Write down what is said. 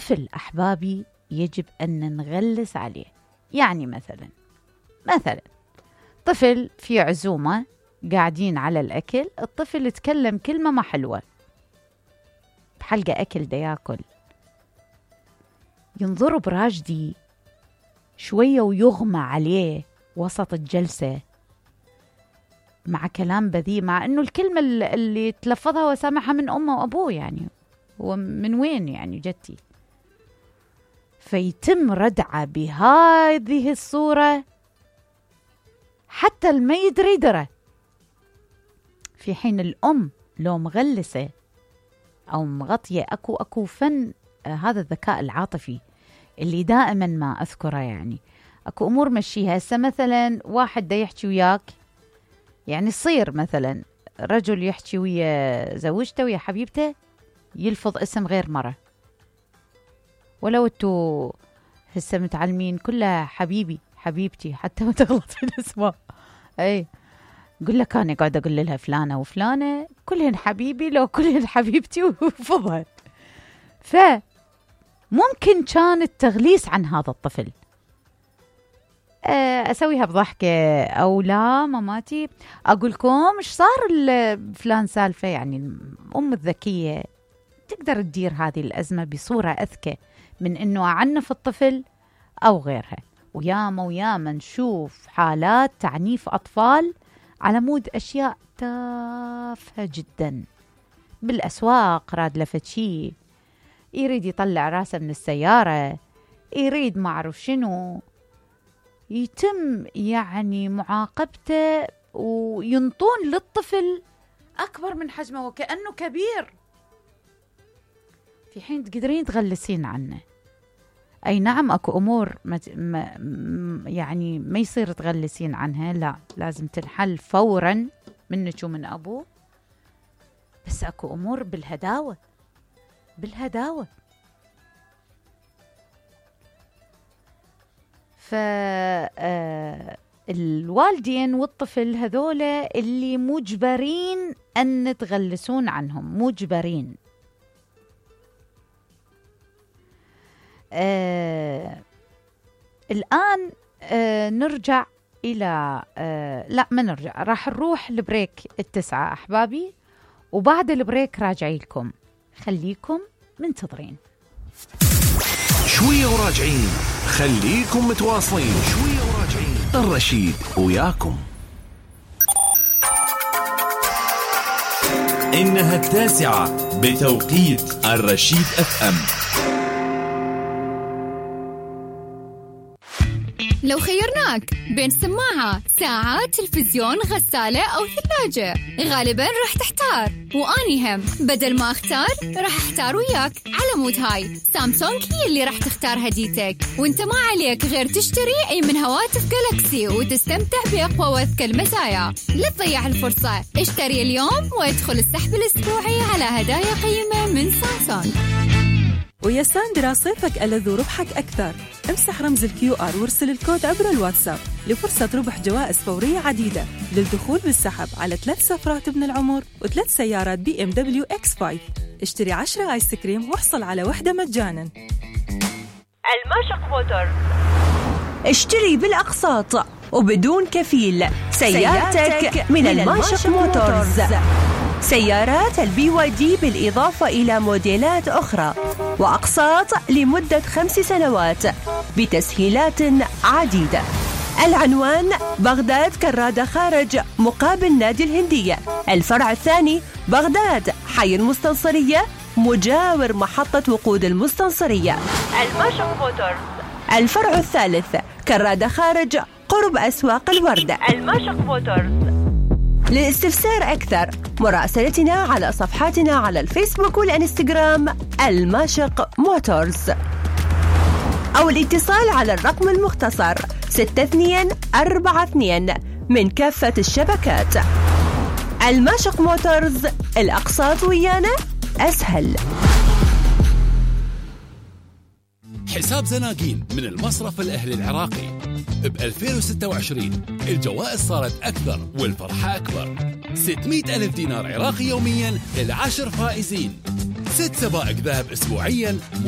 الطفل أحبابي يجب أن نغلس عليه. يعني مثلا طفل في عزومة قاعدين على الأكل، الطفل يتكلم كلمة ما حلوة بحلقة أكل دا ياكل، ينضرب راجدي شوية ويغمى عليه وسط الجلسة مع كلام بذيء، مع أنه الكلمة اللي تلفظها وسامعها من أمه وأبوه، يعني ومن وين يعني جتي، فيتم ردعه بهذه الصورة حتى ما يدري درة، في حين الأم لو مغلسة أو مغطية أكو فن هذا الذكاء العاطفي اللي دائما ما أذكره. يعني أكو أمور مشيها. هسه مثلا واحد دا يحكي وياك، يعني صير مثلا رجل يحكي ويا زوجته ويا حبيبته يلفظ اسم غير مرة، ولو انتو هسه متعلمين كلها حبيبي حبيبتي حتى ما تغلط في الاسماء. اي قل لك انا قاعده اقول لها فلانه وفلانه كلهن حبيبي، لو كلهن حبيبتي وفضها. فممكن كان التغليس عن هذا الطفل اسويها بضحكه، او لا ماماتي اقول لكم ايش صار فلان سالفه. يعني الام الذكيه تقدر تدير هذه الازمه بصوره اذكى من انه اعنف الطفل او غيرها. وياما نشوف حالات تعنيف اطفال على مود اشياء تافهه جدا بالاسواق. راد لفت شي يريد يطلع راسه من السياره، يريد ما اعرف شنو، يتم يعني معاقبته وينطون للطفل أكبر من حجمه وكأنه كبير، في حين تقدرين تغلسين عنه. أي نعم أكو أمور يعني ما يصير تغلسين عنها، لا لازم تنحل فورا منك ومن أبوه، بس أكو أمور بالهداوة. فالوالدين والطفل هذولا اللي مجبرين أن تغلسون عنهم، مجبرين. الآن نرجع إلى لا ما نرجع، راح نروح لبريك 9 أحبابي، وبعد البريك راجعي لكم، خليكم منتظرين. شوية وراجعين، خليكم متواصلين. شوية وراجعين، الرشيد وياكم. إنها 9 بتوقيت الرشيد FM. لو خيرناك بين سماعة، ساعة، تلفزيون، غسالة أو ثلاجة، غالباً راح تحتار. وأني هم بدل ما أختار راح أحتار وياك. على مود هاي سامسونج هي اللي راح تختار هديتك، وانت ما عليك غير تشتري أي من هواتف جالاكسي وتستمتع بأقوى وأذكى المزايا. لا تضيع الفرصة، اشتري اليوم وادخل السحب الأسبوعي على هدايا قيمة من سامسونج. ويا ساندرا صيفك ألذ وربحك أكثر. امسح رمز الQR وارسل الكود عبر الواتساب لفرصة ربح جوائز فورية عديدة للدخول بالسحب على 3 سفرات ابن العمر و3 سيارات BMW X5. اشتري 10 آيس كريم واحصل على 1 مجانا. الماشق موتور، اشتري بالأقساط وبدون كفيل سيارتك من الماشق موتورز. سيارات BYD بالإضافة إلى موديلات أخرى، وأقساط لمدة 5 سنوات بتسهيلات عديدة. العنوان بغداد كرادة خارج مقابل نادي الهندية. الفرع الثاني بغداد حي المستنصرية مجاور محطة وقود المستنصرية. الماشق موتورز. الفرع الثالث كرادة خارج قرب أسواق الوردة. الماشق موتورز. للاستفسار أكثر مراسلتنا على صفحاتنا على الفيسبوك والإنستغرام الماشق موتورز، أو الاتصال على الرقم المختصر 6242 من كافة الشبكات. الماشق موتورز، الأقساط ويانا أسهل. حساب زناقين من المصرف الأهلي العراقي. ب 2026 الجوائز صارت أكثر والفرحة أكبر. 600,000 دينار عراقي يوميا ل10 فائزين، 6 سبائك ذهب أسبوعيا.